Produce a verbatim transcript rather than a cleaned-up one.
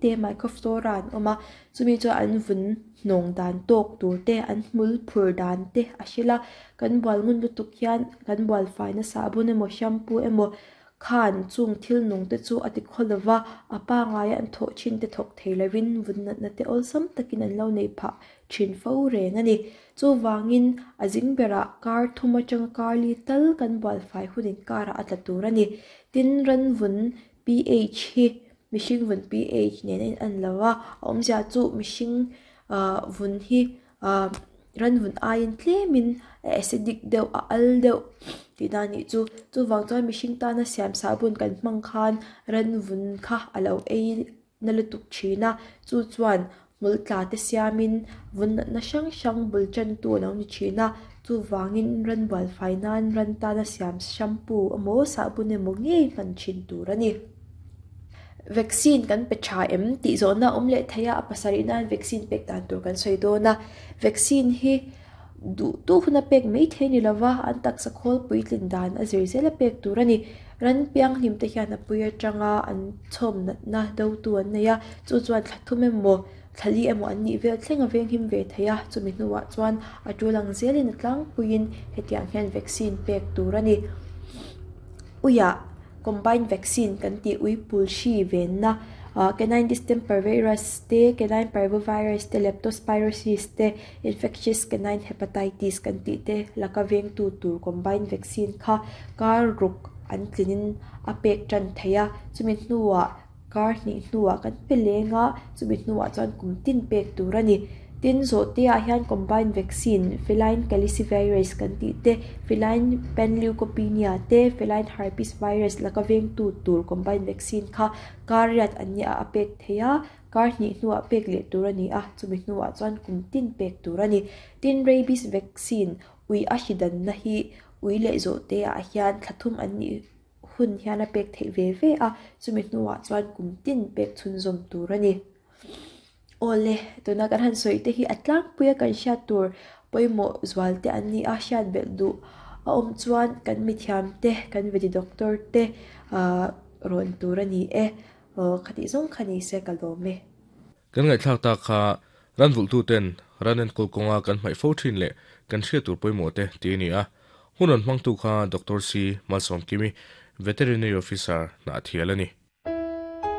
te microflora an awm a, chumi chu an vun hnawng dan tawk tur te, an hmul phur dan te a hril a, kan bual ngun lutuk hian kan bual faina sahbun emaw shampoo emaw khan chung thil nung te chu a ti khawlova, a pangai an thawh thin te thawk thei lovin vun natna te awlsam takin an lo nei phah thin fo reng ani. Chu wangin a zing berah kar thum atanga kar li tal kan bual fai hunin karah a tla tur ani. Tin ran vun pH hi mihring vun pH nen a in an lo a, a awmzia chu mihring vun hi ran vun aiin tlemin a acidic deuh a al deuh tihna anih chu. Chuvang chuan mihring tana siam sahbun kan hmang khan ran vun kha a lo ei na lutuk thin a, chu chuan hmul tla te siamin vun natna hrang hrang bul tan tu a lo ni thin a, chuvangin ran bual fai nan ran tana siam shampoo emaw sahbun emaw ngei hman thin tur ani. Vaccine kan pe tha em tih zawhna awm leh thei a, a pasarih nan vaccine pek dan tur kan sawi dawn a. Vaccine hi duh tu huna pek mai thei ni lova, an taksa khawl puitlin dan a zir zel a pek tur ani. Ran piang hlim te hian a pui atanga an chhawm natna do tu an nei a, chu chuan thla thum emaw thla li emaw an nih vel thleng a veng him ve thei a, chumi hnuah chuan a tulang zelin a tlangpuiin hetiang hian vaccine pek tur ani. Uiah combined vaccine kan ti ui pul hri venna canine distemper virus te, canine parvovirus te, leptospirosis te, infectious canine hepatitis kan ti te laka veng tu tur combined vaccine kha kar ruk an tlinin a pek tan thei a, chumi hnuah kar hnih hnuah kan pe lenga, chumi hnuah chuan kum tin pek tur ani. Tin zawh te ah hian combined vaccine feline calicivirus kan ti te, feline panleukopenia te, feline herpes virus laka veng tu tur combined vaccine kha kar riat an nia a pek thei a, kar hnih hnuah pek leh tur ani a, chumi hnuah chuan kum tin pek tur ani. Tin rabies vaccine ui a hridanna hi ui leh zawh te ah hian thla thum an nih hun hian a pek theih ve ve a, chumi hnuah chuan kum tin pek chhunzawm tur ani. Awle, tuna kan han sawi te hi a tlangpuia kan hriat tur pawimawh zual te an ni a, hriat belh duh a awm chuan kan mithiam te, kan veti doctor te rawn tur ani e. Khatih zawng kha ni se ka lawm e. Kan ngaihthlak ta kha ran vulh tu ten ran enkawl kawnga kan hmaih fo thin leh kan hriat tur pawimawh te ti ani a. Hun rawn hmang tu kha Doctor C Malsawmkimi, Veterinary Officer na thial ani.